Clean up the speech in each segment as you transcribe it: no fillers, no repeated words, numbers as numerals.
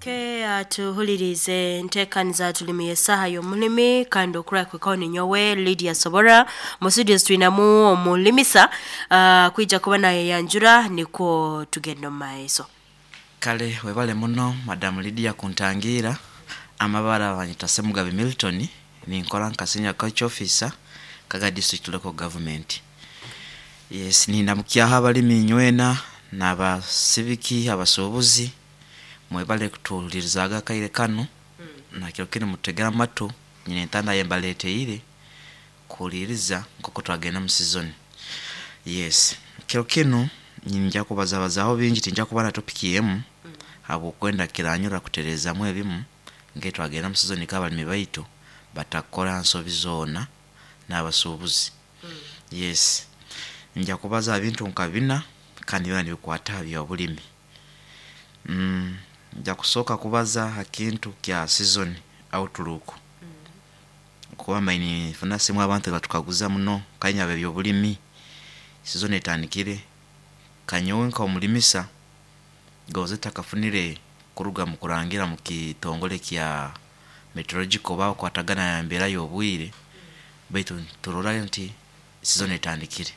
Tuhulirize enteekaniza tulimi y'esaaha y'omulimi, kandi okurakwikaho ninyowe Lydia Sobora. Mu studios twinamu omulimisa, kwija kuba nayeyanjura nikwo tugenda omu maiso. Kale webale muno, Madam Lydia, kuntangiira. Amabara banyeta Semugabi Milton, ninkora nka senior culture officer Kaga District Local Government. Yes, nindamukyaho abalimi inywena n'abasibiki, abasuubuzi, mwebale kutuhulirizaga akaire kanu. Nakiro kinu mututegere amatu, nyine entanda eyembaleteire kuhuliriza nk'oku twagenda mu season. Yes, kiro kinu ninja kubazabazaho bingi, tinja kuba na topic emu habwokwenda kiranyura kutereezamu ebimu nk'etwagenda mu season nk'abalimi baitu batakora nsobi zoona n'abasuubuzi. Yes, nja kubaza ha bintu nka bina kandi byona nibikwata ha by'obulimi. Nja kusooka kubaza ha kintu kya season outlook, kuba mbaire ninfuna simu abantu nibatukaguza muno kanya eby'obulimi, season etandikire, kanyowe nk'omulimisa gonze ntakafunire kuruga mukurangira mukitongole kya meteorological oba abakwatagana nembeera y'obwire, baitu niturora nti season etandikire.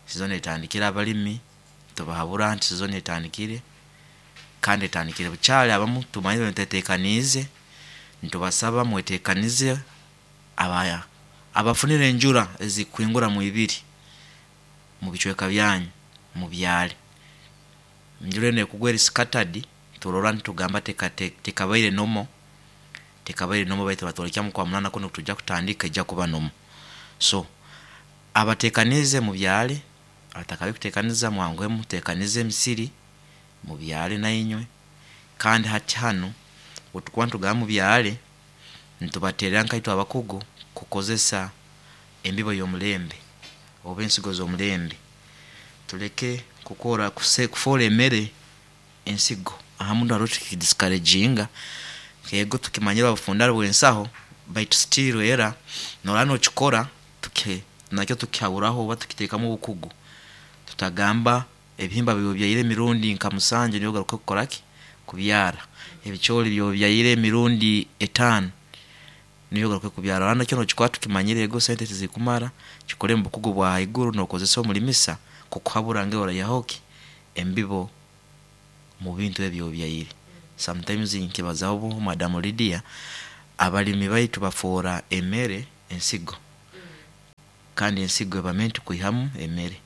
Season etandikire, abalimi tubahabura nti season etandikire kandi etandikire bukyali, abamu tumanyire mutetekaniize, nitubasaba mwetekanize abafunire enjura ezikuhingura mwibiri mubicweka byanyu mubyare. Enjura enu ekugwa eri scattered, turora nitugamba tekabaire normal, tekabaire normal baitu batwolekya mukwamunana kunu okutujya kutandika eija kuba normal. So abatekaniize mubyare, abatakabikutekaniza mwanguhe mutekanize emisiri mubyare nainywe. Kandi hati hanu obutukuba nitugamba mubyare, nitubatererra nkaitwe abakugu kukozesa embibo y'omulembe oba ensigo z'omulembe, tuleke kukora kufoora emere ensigo. Ahamu haroho tukidiscouraginga, ego tukimanyire obufundari bw'ensaho, baitu still era noraba nokikora, nakyo tukihaburaho oba tukiteekamu obukugu, tutagamba ebihimba ebi obyaire emirundi nka musanju nibyo ogaruke kukoraki, kubyara, ebicoori ebi obyaire emirundi etaano nibyo ogaruke kubyara, oraba nakyo nokikora tukimanyire ego sente tizikumara, kikore mubukugu bwa haiguru nokozesa omulimisa kukuhabura ngu oraihaho ki embibo mubintu ebi obyaire. Sometimes nkibazaho Madam Lydia, abalimi baitu bafoora emere ensigo kandi ensigo eba meant kwihamu emere,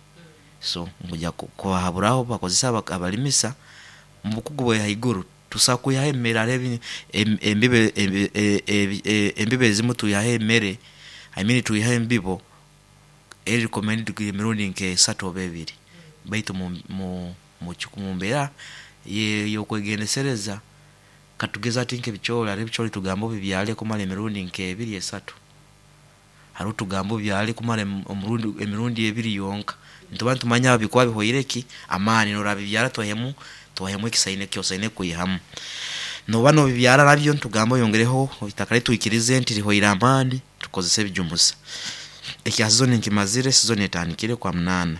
so nkuja kubahaburaho bakozese abalimisa mubukugu bwa haiguru, tusobola kwihaho emere, haroho embibo ezimu twihaho emere, I mean twihaho embibo eri recommended kwiha emirundi nk'esatu oba ebiri, baitu mumbeera y'okwegendesereza katugeze hati nk'ebicoori, haroho ebicoori tugamba obibyare kumara emirundi nk'ebiri, esatu, haroho tugamba obyare kumara emirundi ebiri yonka, nituba nitumanya bikuba bihwaire ki, amaani, norora bibyara twaihemu eki osaine kwihamu. Noba nobibyara nabyo nitugamba oyongereho itaka rye twikirize nti rihwaire amaani, tukozese ebijumusa. Ekya season nkimazire, season etandikire okwamunaana,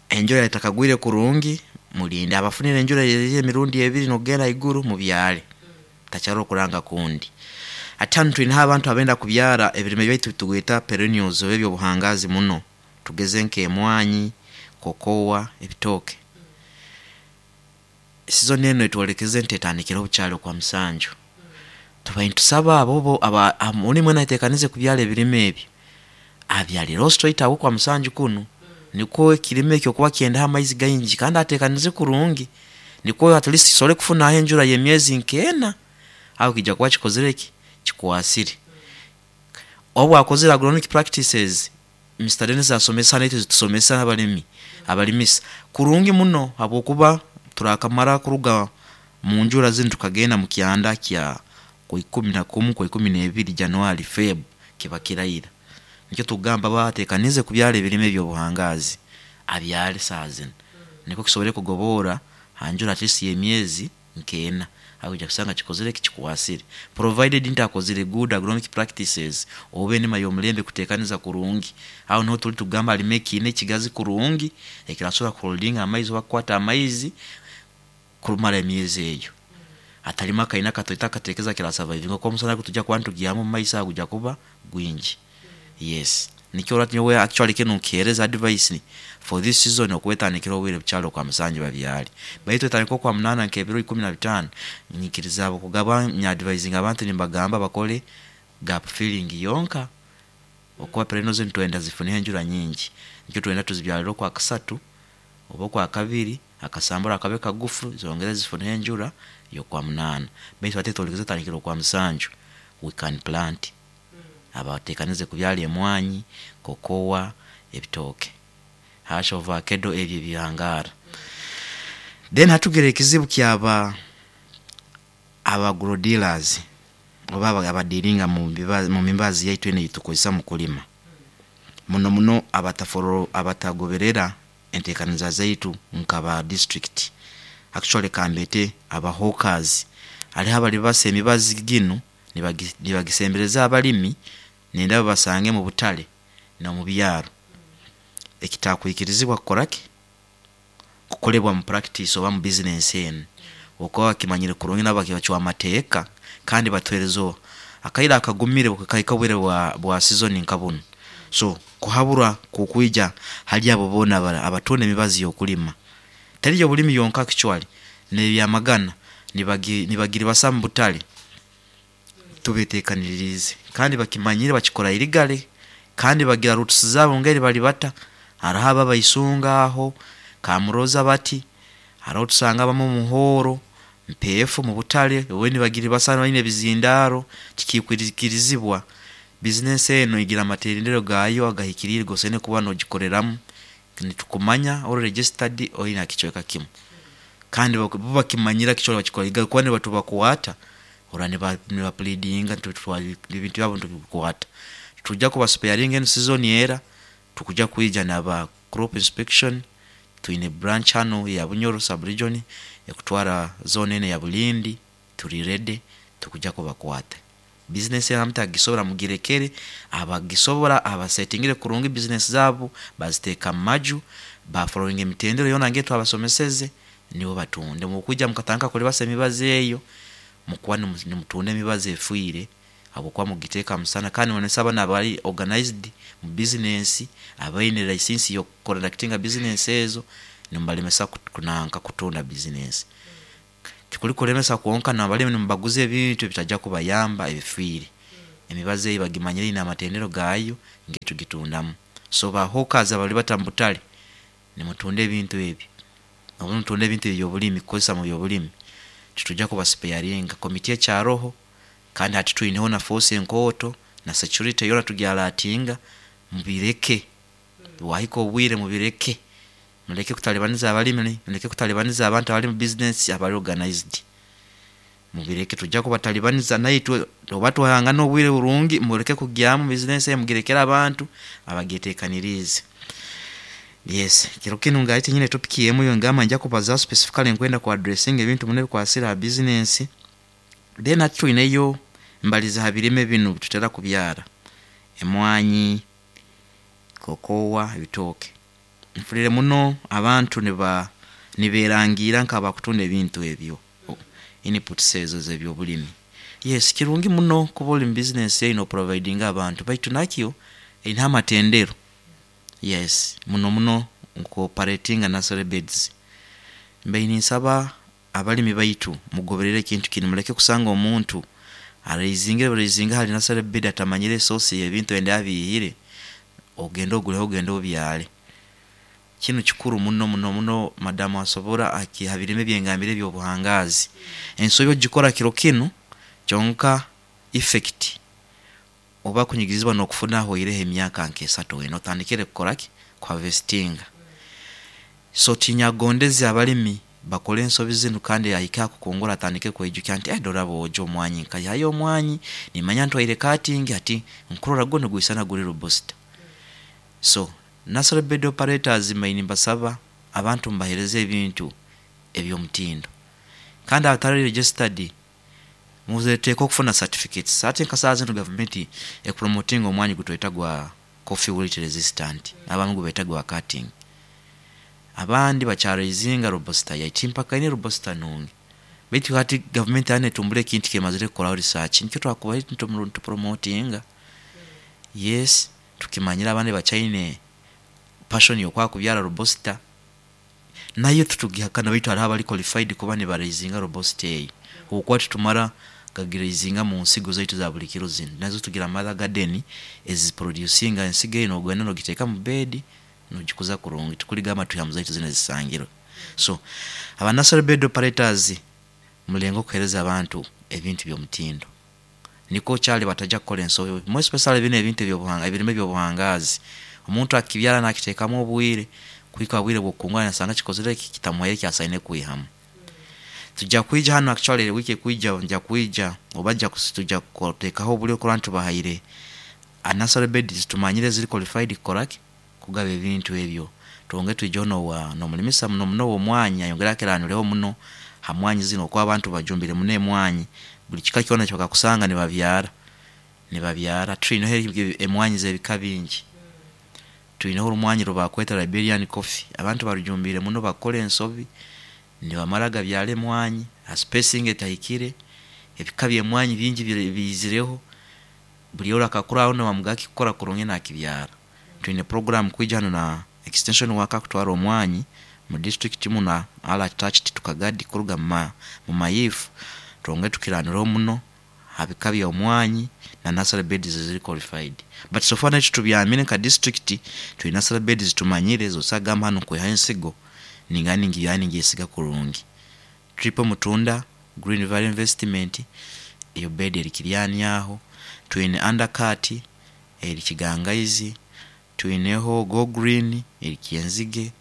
enjura etakagwire kurungi mulinde, abafunire enjura ey'emirundi ebiri nokugenda haiguru mubyare, hatakyaroho okuranga kundi. Hati hanu twineho abantu abenda kubyara ebirime byaitu ebitugweta perennials oba eby'obuhangazi muno, tugeze nk'emwanyi, kokowa, ebitooke. Season enu etwolekeze nti etandikireho bukyari okwamusanju, tubaire nitusaba abo omulimi weena ayetekaniize kubyara ebirime ebi, abyarireho straight away okwamusanju kunu, nikwo ekirime eki okuba nikyendaho amaizi gaingi kandi atekanize kurungi nikwo at least kisobole kufunaho enjura y'emyezi nk'ena, aho kiija kuba kikozire ki, kikwasire. Obu akozire agronomic practices, Mister Denis asomesa naitwe zitusomesa abalimi, abalimisa kurungi muno habwokuba turakamara kuruga munjura zinu tukagenda mukyanda kya kwaikumi na kumu, kwaikumi n'ebiri January, Feb kiba kiraira. Nikyo tukugamba aba atekaniize kubyara ebirime eby'obuhangazi abyare saaha zinu nikwo kisobole kugoboora ha njura at least y'emyezi nk'ena, aho oija kusanga kikozire ki, kikwasire provided nti akozire good agronomic practices oba enima y'omulembe kutekaniza kurungi, aho niho turi tugamba alime ekiina ekigazi kurungi ekirasobora kuholdinga amaizi oba kukwata amaizi kumara emyezi eyo. Atalima akaina akatoito akateekeza kirasurvivinga kuba omusana gutujya kuba nitugyamu mumaiso aho gujya kuba gwingi. Yes, nikyo orora nyowe actually kinu nkiheereza advice for this season okuba etandikire obwire bukyali okwa musanju babyale, baitu etandika okwa munaana nk'ebiro 15, nyikiriza habwokugaba nyadvisinga abantu nimbagamba bakole gap filling yonka okuba perennials nitwenda zifune enjura nyingi, nikyo twenda tuzibyalire okwakasatu oba okwakabiri, akasambura kabe kagufu zongere zifune enjura y'okwamunaana, baitu hati etandikire okwamusanju, we can plant, abatekaniize kubyara emwaanyi, cocoa, ebitooke, hash, ovakedo ebi ebihangaara. Then hati tugira ekizibu kyaba aba agro dealers oba abadealinga mumibazi yaitu enu eyitukozesa mukulima, muno muno abatagoberera enteekaniza zaitu nkaba district, actually kambeete aba hawkers, haroho abaribasa emibazi ginu nibagisembereza abarimi nibenda babasange mubutare nomubyaro, ekitakwikirizibwa kukora ki, kukorebwa mu practice oba mu business enu, habwokuba bakimanyire kurungi nabo nibacwa amateeka kandi batuheereza akaire akagumire obu kikahika obwire bwa season nka bunu. So kuhaburwa kukwiija hari abo boona abatunda emibazi y'okulima, teri y'obulimi yonka actually, n'ebyamagana nibagiribasa mubutare, tubeteekaniriize kandi bakimanyire bakikora illegally kandi bagira routes zaabo engeri baribata, haroho abo abaisunga aho, kamuroza bati, haroho tusanga abamu Muhoro, Mpeefu mubutare obu nibagiribasa baine ebizindaaro, tikikwikirizibwa. Business enu egira amateerero gaayo agahikiriire agu osemeriire kuba nogikoreramu, nitukumanya ori registered ori hakicweeka kimu, kandi bo bakimanyire nibakikora illegally kuba nitubakwata orola niba pleadinga ebintu byaabo nitubikwaata. Titujya kuba sparinga enu season era, tukujya kwiija naba crop inspection, twiine branch hanu eya Bunyoro sub region ekutwaara zone enu eya Bulindi, turi ready tukujya kubakwaata. Business enu abatakugisobora mugirekere abakugisobora abasetingire kurungi business zaabo baziteeka mumaju, ba followinga emitendera yoona nka eyitwabasomeseze, nibo batunde. Obu mukwiija mukatandika kuribasa emibazi eyo, mukuba nimutunda emibazi efwiire habwokuba mukugiteeka hamusana kandi nimuremesa banu abari organized mu business, abaine license yoku conductinga business ezo, nimubaremesa kutunda business. Tikuri kuremesa kwonka, nabarimi nimubaguza ebintu ebitajya kubayamba ebifwiire, emibazi eyo bagimanyire eyine amatendero gaayo engeri tugitundamu. So ba hawkers abaribata mubutare, nimutunda ebintu ebi, obu nimutunda ebintu ebyobulimi kukozesa mubyobulimi, titujya kuba sparinga, committee ekyaroho kandi hati twineho na force enkooto na security yoona tugi alertinga, mubireke, bwahika obwiire mubireke, muleke kutaribaniza abarimi, muleke kutaribaniza abantu abari mu business abari organized, mubireke titujya kubataribaniza naitwe oba twahangana obwire burungi muleke kugyamu business egi mugirekere abantu abagyetekaniriize. Yes, kiro kinu nkaba tinyine topic emu eyingamba ningya kubazaaho specifically nkwenda ku addressinga ebintu muno ebikwasire ha business. Then hati twineyo mbalize ha birime binu ebitukira kubyaara, emwaanyi, cocoa, ebitooke, nfuriire muno abantu niberangiirra nk'abakutunda ebintu ebyo, inputs ezo ezebyobulimi. Yes kirungi muno kuba ori mu business egi noprovidinga abantu baitu nakyo eyine amatendero, yes muno muno nko operatinga nursery beds. Mbaire ninsaba abarimi baitu mugoberere ekintu kinu, muleke kusanga omuntu areizingire buraizinga hari nursery bed atamanyire source yebintu nambere abiihire, ogende ogureho ogende obyaare. Kinu kikuru muno muno muno madam asobora habirime ebingambire ebyobuhangaazi, ensobi ogikora kiro kinu kyonka effect oba kunyigirizibwa nokufuna hahwireho emyaaka nka esatu ena otandikire kukoraki, ku harvestinga. So tinyakugondeze abarimi bakore ensobi zinu kandi ahike hakukungura atandike kweijukya nti dora boojo omwaanyi nkaihayo omwaanyi nimanya ntwaire cutting hati nkurora gwo nigwisana guri robusta. So nursery bed operators mbaire nimbasaba abantu mubaheereze ebintu ebyomutindo kandi abatari registered muteekwa kufuna certificates, hati nka saaha zinu gavumenti ekupromotinga omwaanyi ogu tweeta gwa coffee wilt resistant, abamu nigubeeta gwa cutting, abandi bakya raizinga robusta yaitu timpakaine robusta nungi. Baitu hati gavumenti hanu etumbura ekintu kyemazire kukoraho research, nikyo twakubaire nitupromotinga. Yes, tukimanyire abandi bakyaine passion y'okwakubyara robusta, nayo titugihakana baitu haroho abari qualified kuba nibaraizinga robusta eyo, habwokuba titumara gagiraizinga munsigo zaitu eza buri kiro zinu, nazo tugira mother garden eziproducinga ensigo eyo nogenda nogiteeka mu bed nogikuza kurungi tikuligamba twihamu zaitu zinu ezisangirwe. So aba nursery bed operators mulengeho kuheereza abantu ebintu by'omutindo nikwo kyali batajya kukora ensobi, more especially binu ebintu ebirime ebyobuhangaazi, omuntu akibyara nakiteekamu obwiire, kuhika habwiire bwokukungura nasanga kikozire ki, kitamuhaire eki asaine kwiihamu. Tujya kwiija hanu actually week ekwiija nja kwiija oba tujya kuteekaho oburyo kurora nti tubahaire nursery beds ezitumanyire eziri qualified kukoraki, kugaba ebintu ebyo, twongere twijeho nomurimisa muno muno owomwaanyi ayongere akiraanireho muno ha mwaanyi zinu habwokuba abantu bajumbiire muno emwaanyi, buri kika kyoona ekibakakusanga nibabyaara, nibabyara. Twiineho emwaanyi zebika bingi, twiineho orumwaanyi oru bakweta liberian coffee, abantu barujumbiire muno bakora ensobi, nibamara gabyaara emwaanyi ha spacing etahikire, ebika byemwaanyi bingi biizireho, buri orakakuroraho nibamugamba kikukora kurungi nakibyaara. Twiine program kwiija hanu na extension worker kutwaara omwaanyi mu district munu all attached to Kagadi kuruga mu Mayif, twongere tukiraanireho muno habika byomwaanyi na nursery beds eziri qualified. But so far naitwe tubyaamire nka district, twiine nursery beds ezitumanyire ezi osobola kugamba hanu nkwihayo ensigo ningenda ningibyaara ningyesiga kurungi. Triple Mutunda, Green Valley Investment, eyo bed eri Kiryani aho, twiine Undercut eri Kigangaizi, twiineho Go Green eri Kyenzige,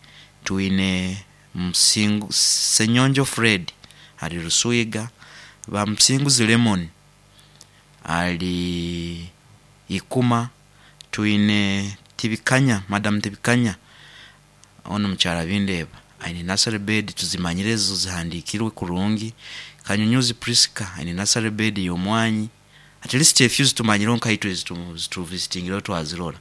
twiine Ssenyonjo Fred ari Rusuiga, ba Musinguzi Lemon ari Ikuma, twiine Tibikanya, madam Tibikanya onu mukyara Bindeeba ayine nursery bed tuzimanyire ezo zihandikirwe kurungi, Kanyunyuzi Prisca ayine nursery bed yomwaanyi, at least a few ezitumanyire nkaitwe ezi tuvisitingireho twazirora,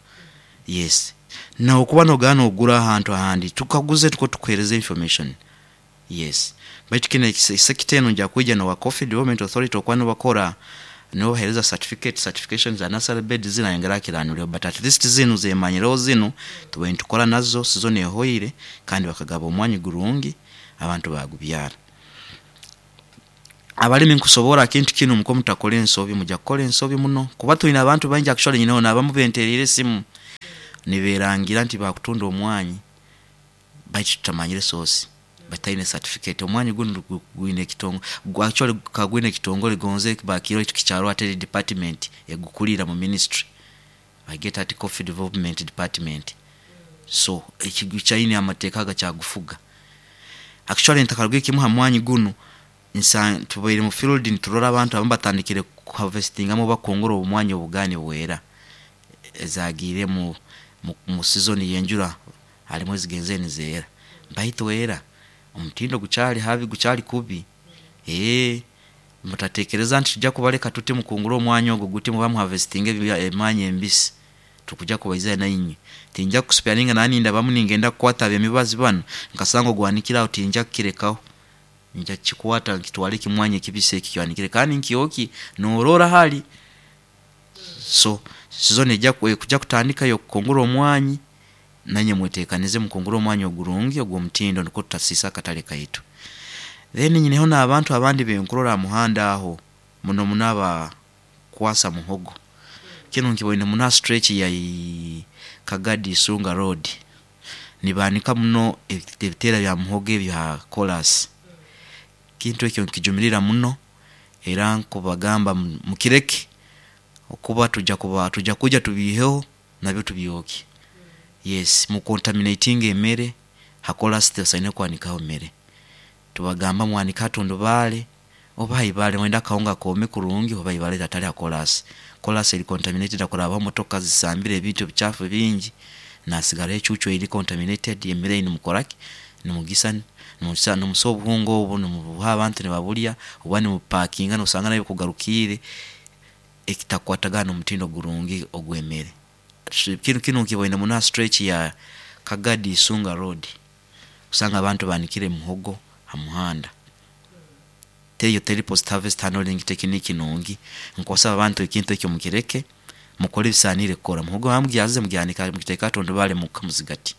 yes. Nokuba nogenda nogura ahantu ahandi, tukaguze nikwo tukuheereze information, yes. Baitu kinu sector enu nija kwiija nowa Coffee Development Authority habwokuba nibo bakora, nibo baheereza certificate, certification za nursery beds zinu ayongere akiraanireho but at least zinu zemanyireho zinu tubaire nitukora nazo season ehoire kandi bakagaba omwaanyi gurungi abantu bagubyaara. Abarimi nkusoboorra kintu kinu nikwo mutakora ensobi, mujya kukora ensobi muno kuba twiine abantu baingi actually nyineho nabamu benteriire esimu niberangira nti bakutunda omwaanyi baitu tutamanyire source, bataine certificate, omwaanyi gunu gwiine ekitongore, actually gukaba gwiine ekitongore gonze bakiihireho tikikyaaroho hati eri department egukuliira mu ministry, bagyeta hati Coffee Development Department, so kyaine amateeka agakyagufuga. Actually ntakarugireyo kimu hamwaanyi gunu, tubaire mu field niturora abantu abamu batandikire ku harvestingamu oba kukungura omwaanyi obugaaba nibweera, ezagiire mu season yenjura harumu ezigenzere nizeera, baitu era omutindo gukyaari habi, gukyaari kubi, mutatekereza nti tujya kubareka tuti mukungure omwaanyi ogu guti oba mu harvestinge emwaanyi embisi, titukujya kubaizira nainywe, tinjya kusparinga naba nindabamu ningenda kukwaata abemibazi banu nkasanga ogwanikire aho tinjya kukirekaho, nyija kukikwaata nkitwaare ekimwaanyi ekibisi eki ekyanikire kandi nkyokye norora hari. So season ekujya kutandika eyokukungura omwaanyi, nainywe mwetekanize mukungure omwaanyi ogurungi ogwomutindo nikwo tutasiisa akatare kaitu. Then nyineho nabantu abandi abinkurora hamuhanda aho, muno muno abakwasa muhogo, kinu nkiboine muno ha stretch ya Kagadi Isunga road, nibaanika muno ebiteera bya muhogo ebi ha koraasi, ekintu eki nkijumirira muno era nkubagamba mukireke habwokuba tujya kwiija tubiiheho nabyo tubyokye, yes mu contaminatinga emere, ha koraasi tibasaine kwanikaho mere, tubagamba mwanike hatundubaare oba haibare noyenda akahunga koome kurungi oba haibare baitu hatari ha koraasi, koraasi eri contaminated hakurabaho emotoka zisambire ebintu ebikyafu bingi, nasigaraho ecuucu eri contaminated, emere eyi nimukoraki, nimugisa, nimusa obuhunga obu nimubuha abantu nibaburya oba nimubupakinga nosanga naiwe bukugarukiire ekitakukwatagana nomutindo gurungi ogwemere. Kinu nkiboine muno ha stretch ya Kagadi Isunga road, kusanga abantu banikire muhogo hamuhanda. Teyo teri post harvest handling technique nungi. Nkosaba abantu ekintu ekyo mukireke, mukole ebisanire kukora. Muhogo mugyaze mugyanika mugiteke ha tundubare muka muzigati,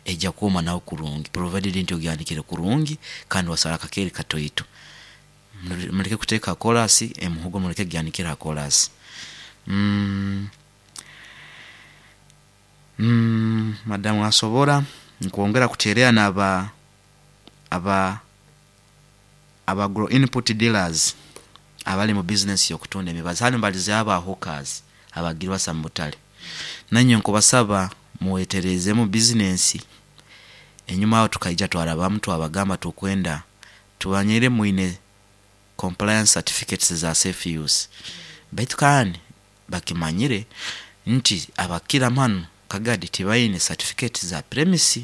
ejya kwoma nawe kurungi provided nti ogyanikire kurungi kandi wasaraho akakeri kataito. Muleke kuteka ha korasi, omuhogo muleke kugyanikira ha korasi. Madamu asobora nkwongera kuterera naba aba agro input dealers abali mu business yokutunda emibazi, hanu mbalizeho aba hawkers abagibasa mubutare. Nainywe nkubasaba mweterezemu business, enyuma aho tukaija twarabamu twabagamba tukwenda tumanyire mwine compliance certificates za safe use, baitu kandi bakimanyire nti abakira hanu Kagadi tibayine certificate za premix,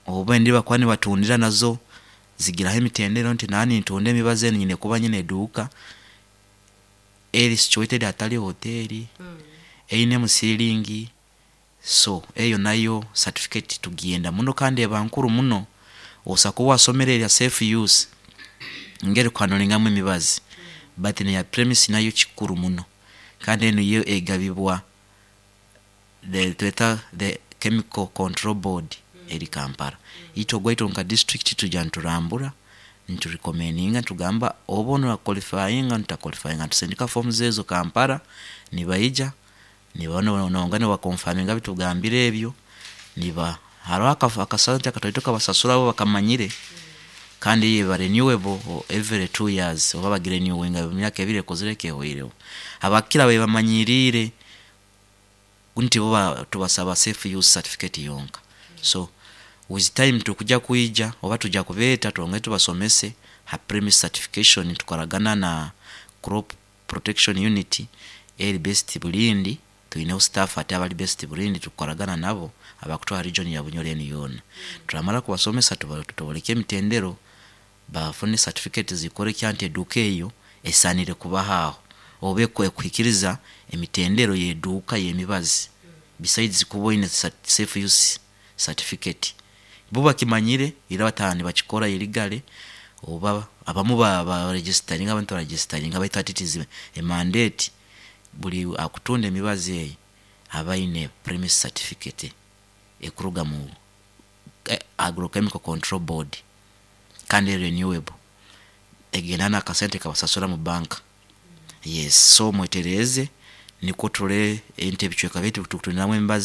obu bakuba nibatundira nazo zigiraho emitendera nti naba nintunda emibazi enu nyine kuba nyine eduuka eri situated hatari hoteri, eyinemu ceiling, so eyo nayo certificate tugiyenda muno kandi eba nkuru muno. Osobola kuba wasomere ebya safe use engeri yokuhandoringamu emibazi baitu neya premix nayo kikuru muno kandi enu yo egabibwa tweta the chemical control board eri Kampala. Itwe owaitu nka disiturikiti twija niturambura, niturecommendinga nitugamba oba noqualifyinga notaqualifyinga, nitusindika forms ezo Kampala, nibaija nibongera nibaconfirminga ebitugambire ebyo, niba haroho akasente kataito akubasasura bo bakamanyire kandi eyo eba renewable every 2 years oba bagirenewinga buri myaka ebiri ekozireki, ehwireho. Abakira bamanyirire nti bo tubasaba safe use certificate yonka. So with time tukujya kwija oba tujya kubeeta twongere tubasomese ha premix certification nitukoragana na crop protection unit eri based Bulindi, twineho staff hati abari based Bulindi tukukoragana nabo abakutwara region ya Bunyoro enu yoona. Turamara kubasomesa tuboleke emitendero bafune certificate ezikworeka nti eduuka eyo esanire kubaho aho oba ekuhikiriza emitendero y'eduuka y'emibazi besides kuba oyine safe use certificate. Bo bakimanyire ira bataaha nibakikora illegally oba abamu baregisteringa abandi tibaregisteringa baitu hati it is a mandate buri akutunda emibazi egi abe ayine premix certificate ekuruga mu agrochemical control board kandi eri renewable, egenda nakasente akubasasura mu banka. Yes, so mwetereze nikwo turole nti ebicweka byaitu ebitukutundilamu emibazi.